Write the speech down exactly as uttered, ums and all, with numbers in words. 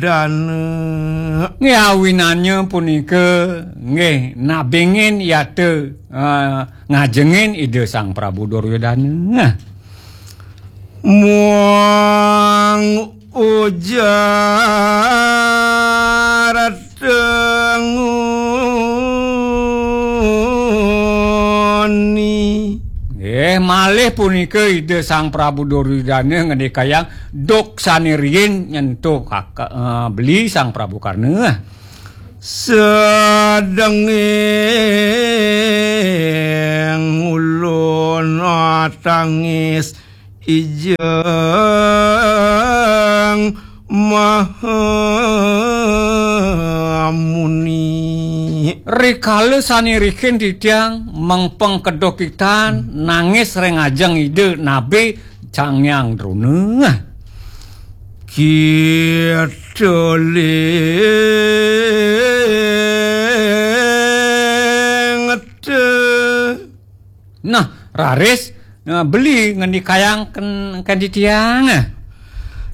Dana. Nggih, awinannya punika, nggih, nabingin yata, eh, ngajengin Ida Sang Prabu Duryodana. Muang ujar tenguni. Nggih, malih punika Ida Sang Prabu Duryodana ngendikayang duk sane riin nyentuh kaka, eh, beli Sang Prabu Karna. Sedenging ulun tangis ijeng Maha Muni. Rikala sane riin titiang mengpeng kedokitan nangis ring ajeng Ida nabe Sang Hyang Drona. Kita lingete. Nah, raris, eh, beli ngendikayang ken, ken titiang.